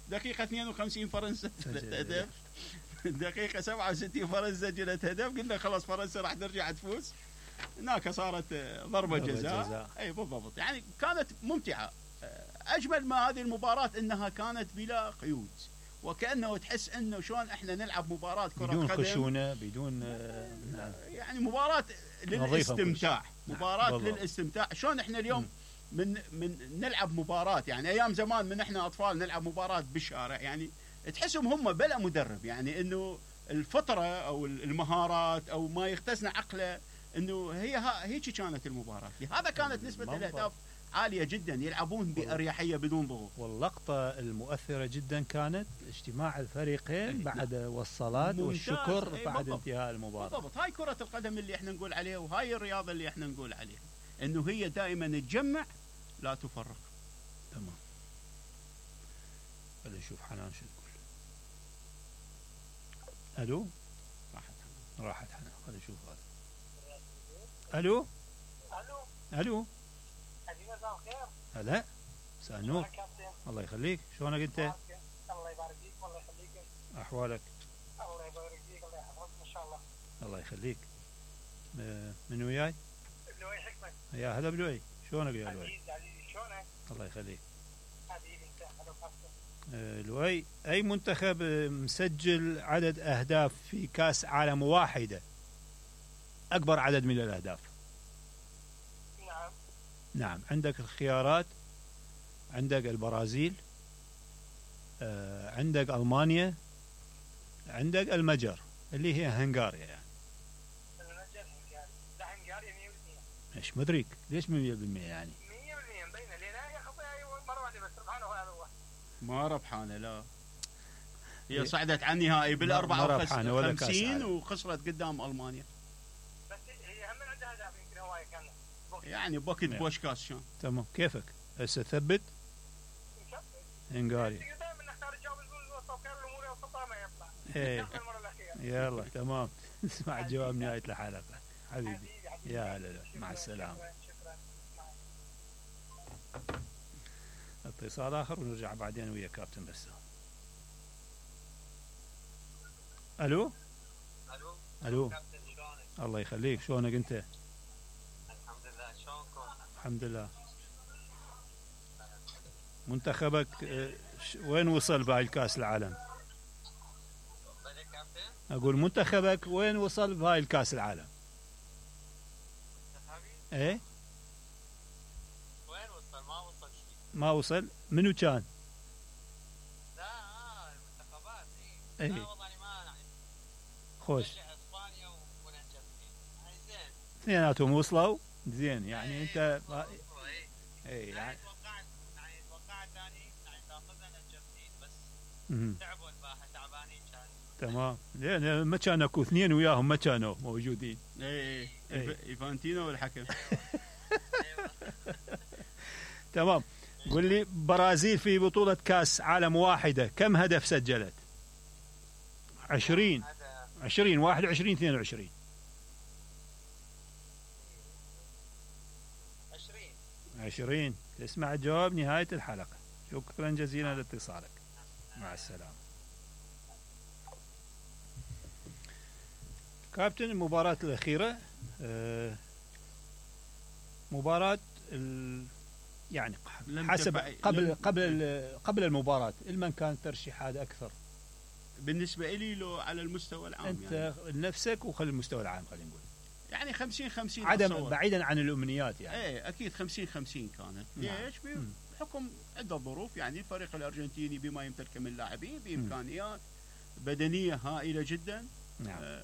دقيقة 52 فرنسا سجلت هدف، دقيقة 67 فرنسا سجلت هدف، قلنا خلاص فرنسا راح ترجع تفوز، هناك صارت ضربة جزاء. اي بالضبط، يعني كانت ممتعة. اجمل ما هذه المباراة انها كانت بلا قيود، وكأنه تحس انه شلون احنا نلعب مباراة كرة قدم بدون خشونة، بدون يعني مباراة للاستمتاع، مباراة للاستمتاع. شلون احنا اليوم من نلعب مباراة، يعني ايام زمان من احنا اطفال نلعب مباراة بالشارع، يعني تحسهم هم بلا مدرب، يعني انه الفطرة او المهارات او ما يختزن عقله، انه هيك كانت المباراة. هذا كانت نسبة الاهداف عالية جدا، يلعبون بأريحية بدون ضغوط. واللقطة المؤثرة جدا كانت اجتماع الفريقين بعد والصلاة والشكر بعد انتهاء المباراة. بالضبط، هاي كرة القدم اللي احنا نقول عليها، وهاي الرياضة اللي احنا نقول عليها، انه هي دائما تجمع لا تفرق. تمام. خلينا نشوف حنان شو تقول. الو، راحت حنان. خلينا نشوف هذا. الو الو هلا، مساء النور. الله يخليك، شلونك انت؟ الله يبارك فيك والله يخليك. احوالك؟ الله يبارك فيك، الله يحفظك ان شاء الله. الله يخليك. من وياي؟ لؤي حكمت. يا هلا بلؤي، شلونك يا لؤي؟ عزيزي شلونك؟ الله يخليك. حبيبي انت، هلا وسهلا. لؤي، اي منتخب مسجل عدد اهداف في كاس عالم واحدة اكبر عدد من الاهداف؟ نعم، عندك الخيارات، عندك البرازيل، عندك ألمانيا، عندك المجر اللي هي هنغاريا. يعني المجر هنغاريا 100%. ايش مدريك ليش 100% يعني 100% مبينه لنا يا خطي مرة واحدة بس ربحانه هذا هو. ما ربحانه، لا هي صعدت عن النهائي بال54 وخسرت قدام ألمانيا. بس هي هم عندها أهداف يمكن هواية كانت يعني بوكت بوشكاش. شلون؟ تمام، كيفك هسه ثبت هنغاريا. دائما نختار الجواب الوسط وكان الامور وسطها ما يطلع. ايه يلا تمام. نسمع الجواب نهاية الحلقة حبيبي. يا هلا، مع السلامة. اتصال آخر ونرجع بعدين ويا كابتن بسام. الو الو. الله يخليك، شلونك انت؟ الحمد لله، شلونكم؟ الحمد لله. منتخبك وين وصل بهاي الكاس العالم؟ اقول منتخبك وين وصل بهاي الكاس العالم؟ منتخبي؟ ايه وين وصل؟ ما وصل شيء. ما وصل؟ منو كان؟ لا المنتخبات ايه. لا والله ما يعني. خوش. اسبانيا والارجنتين. يعني زين. اثنيناتهم وصلوا؟ زين، يعني انت ايه يعني توقعت ثاني يعني تاخذها الارجنتين بس تعبوا الباحه، تعبانين كانوا. تمام، لان ما كان اكو اثنين وياهم ما كانوا موجودين. ايه ايفانتينو والحكم. تمام. قل لي، برازيل في بطولة كاس عالم واحدة كم هدف سجلت؟ 20 21 22 20. تسمع الجواب نهاية الحلقة. شكرا جزيلا لاتصالك، مع السلامة. كابتن، المباراة الأخيرة مباراة يعني حسب قبل المباراة المن كانت ترشيحات أكثر بالنسبة لي لو على المستوى العام؟ أنت يعني نفسك وخلي المستوى العام، خلينا نقول يعني 50-50 عدم بعيدا عن الأمنيات يعني. ايه اكيد 50-50 كانت. ليش؟ بحكم عدة ظروف، يعني الفريق الارجنتيني بما يمتلك من لاعبين بامكانيات بدنية هائلة جدا. نعم.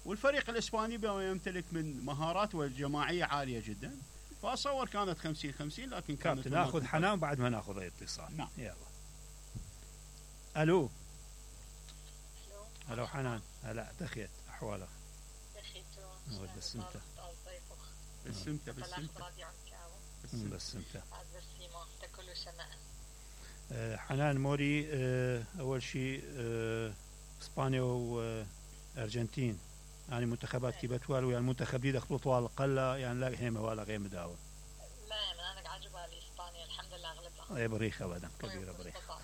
والفريق الاسباني بما يمتلك من مهارات والجماعية عالية جدا، فاصور كانت 50-50. لكن كانت ناخذ حنان بعد ما ناخذ اي اتصال. نعم. يلا. الو حنان، هلا دخيت احوالك؟ دخيتو بس انت بس انت كل سنة. حنان موري، اول شيء اسبانيا وارجنتين يعني منتخبات كي بتوال ويا المنتخب دي دخلوا طوال القله، يعني لا هيمه ولا غير مداوم. لا انا عجبها اسبانيا الحمد لله غلبها. اي بريخه ابدا كبيره بريخه.